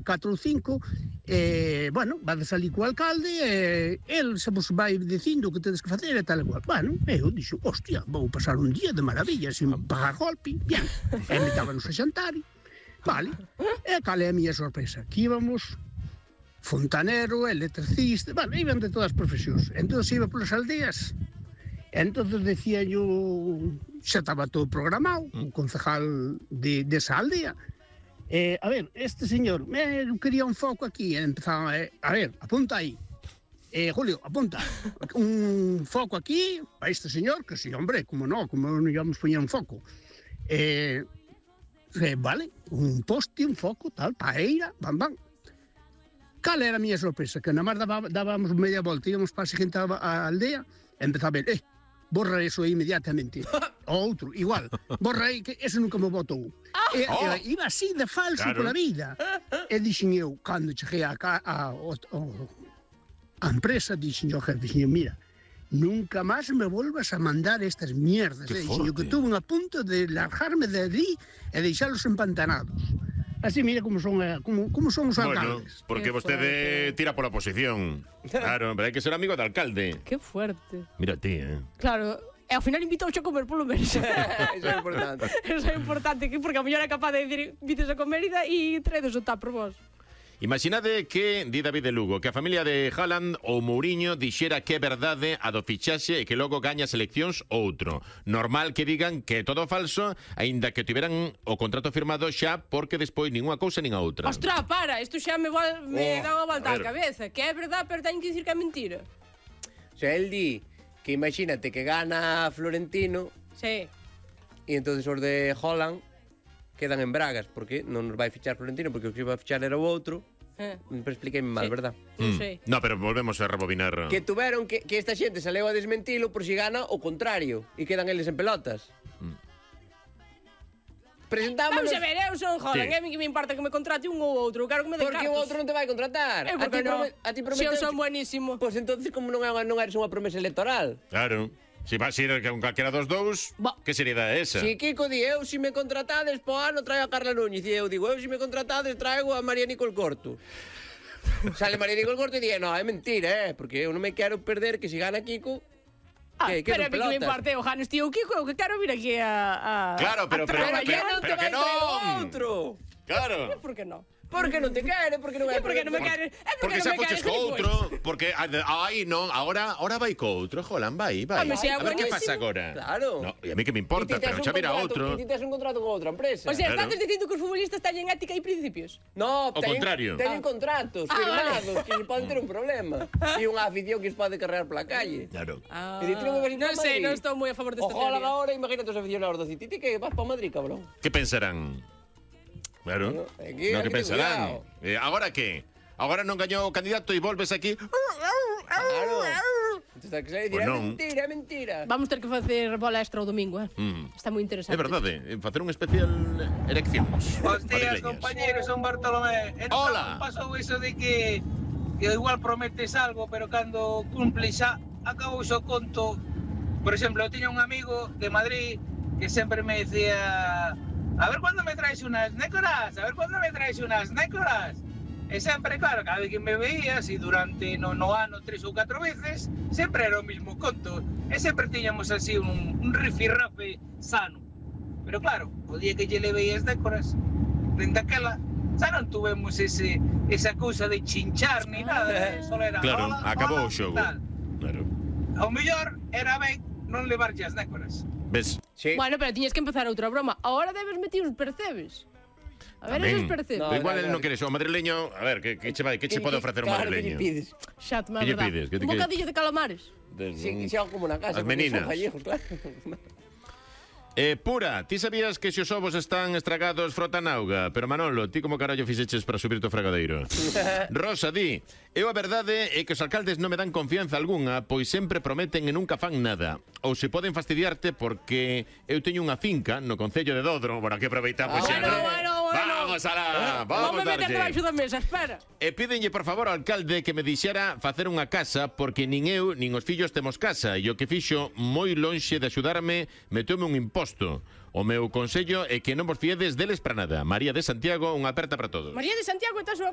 4 ou 5, bueno, vades ali co alcalde, el se vos vai dicindo o que tedes que facer e tal e cual. Bueno, eu dixo, hostia, vou pasar un día de maravilla, sin pagar golpe, bien. E metábanos a xantar, vale. E cal é a miña sorpresa? Que íbamos fontanero, electricista, bueno, iban de todas as profesións. Entón iba polas aldeas, entón decía yo, xa estaba todo programado, o concejal desa aldea. A ver, este señor, quería un foco aquí, empezaba, a ver, apunta aí. Julio, apunta, un foco aquí, a este señor, que sí, hombre, como non íbamos poñer un foco. Vale, un poste, un foco, tal, paeira, bam, bam. Cal era a miña sorpresa? Que nada máis dábamos media volta, íbamos para a seguinte aldea, e empezaba a ver, borra eso inmediatamente. O outro, igual, borra aí, que ese nunca me botou. Iba así de falso pola vida. E dixen eu, cando cheguei a empresa, dixen eu, jefe, dixen eu, mira, nunca máis me volvas a mandar estas mierdas. Dixen eu que tuve a punto de largarme de ali e deixalos empantanados. Así, mira como son os alcaldes. Bueno, porque vostede tira pola oposición. Claro, pero hai que ser amigo do alcalde. Que fuerte. Mira ti, Claro, e ao final invitouche a comer polo menos. Eso é importante. Eso é importante, porque a mellor é capaz de dicir invites a comer e traedes o tap por vos. Imaginade que, di David de Lugo, que a familia de Haaland ou Mourinho dixera que é verdade a do fichaxe e que logo gaña seleccións outro. Normal que digan que é todo falso, aínda que tiveran o contrato firmado xa, porque despois nin unha cousa nin a outra. Ostras, para, isto xa me dá unha volta á cabeza. Que é verdade, pero teñen que dicir que é mentira. O sea, el di que imagínate que gana Florentino. Sí. E entonces os de Haaland quedan en bragas, porque non nos vai fichar Florentino, porque o que iba a fichar era o outro. Pero expliquei-me mal, verdad? Sí. No, pero volvemos a rebobinar. Que tuveron que esta xente saleu a desmentilo por si gana o contrario e quedan eles en pelotas. Presentámonos. Vamos a ver, eu son Haaland, Sí. A mí que me importa que me contrate un ou outro, quero que me den Porque cartos. o outro non te vai contratar. Por que non? A ti Se eu son buenísimo. Pois entonces como non eres unha promesa electoral. Claro. Se vas a ir con calquera dos dous, que seriedade é esa? Si Kiko di, eu si me contratades po ano traio a Carla Núñez. E eu digo, eu si me contratades traigo a María Nicole Corto. Sale María Nicole Corto e di, no, é mentira, porque eu non me quero perder que se gana Kiko. Pero a mí que me importa, o ganes tío Kiko, eu que quero vir aquí a Claro, pero que non! Outro. Claro. Por que non? Porque non te quere, porque non é Porque non me quere. Porque xa foches co outro, porque ai non, agora vai co outro, Haaland, vai. A ver que pasa agora. Claro. No, e a mí que me importa, pero xa vira outro. E ti tes un contrato con outra empresa. O sea, estás dicindo que os futbolistas teñen ética e principios? No, O contrario. Teñen contratos firmados que poden ter un problema. E unha afición que os pode carregar pola calle. Claro. E ti non me vas ir Non sei, non estou moi a favor desta teoría. Ojalá teoría. agora, imagínate os aficionados do City, ti que vas pa Madrid, cabrón. Que pensarán? Claro. No, Que pensarán? Agora que? Agora non gañou o candidato e volves aquí. Claro. Entón, que se Pues é non. mentira, é mentira. Vamos ter que facer bola extra o domingo, Está moi interesante. É verdade, facer un especial eleccións. Bos días, compañeros, son Bartolomé. Hola. Pasou iso de que igual prometes algo, pero cando cumples xa, acabou o conto. Por exemplo, eu tiña un amigo de Madrid que sempre me decía: a ver cuándo me traes unas nécoras, a ver cuándo me traes unas nécoras. E sempre, claro, cada vez que me veías, e durante no ano 3 ou 4 veces, sempre era o mismo conto. E sempre tiñamos así un rifirrafe sano. Pero claro, o día que lle levei as nécoras, dende aquela, xa non tuvemos esa cousa de chinchar ni nada, só era Claro, hola, acabou hola, o xogo. tal. Claro. Ao mellor era ben non levarlle as nécoras. Ves? Sí. Bueno, pero tiñes que empezar outra broma. Ahora debes meter os percebes. A ver, esos percebes. Pero igual el non quere o madrileño. A ver, que che pode ofrecer un madrileño? Claro, que lle pides. Xa, te Que lle pides? Que te Un bocadillo de calamares. Sí, xa como na casa. As porque meninas. son gallegos, claro. Pura, ti sabías que se os ovos están estragados frotan auga? Pero Manolo, ti como carallo fixeches para subir o fregadeiro? Rosa, di, eu a verdade é que os alcaldes non me dan confianza algunha, pois sempre prometen e nunca fan nada. Ou se poden fastidiarte porque eu teño unha finca no concello de Dodro. Bueno, aquí aproveitamos Bueno, sempre. bueno. Vamos Vamos alá, Vamos vamos meter debaixo darlle. da mesa, espera. E pídenlle, por favor, ao alcalde que me dixera facer unha casa porque nin eu nin os fillos temos casa e o que fixo moi lonxe de axudarme meteume un imposto. O meu consello é que non vos fiedes deles para nada. María de Santiago, unha aperta para todos. María de Santiago está a súa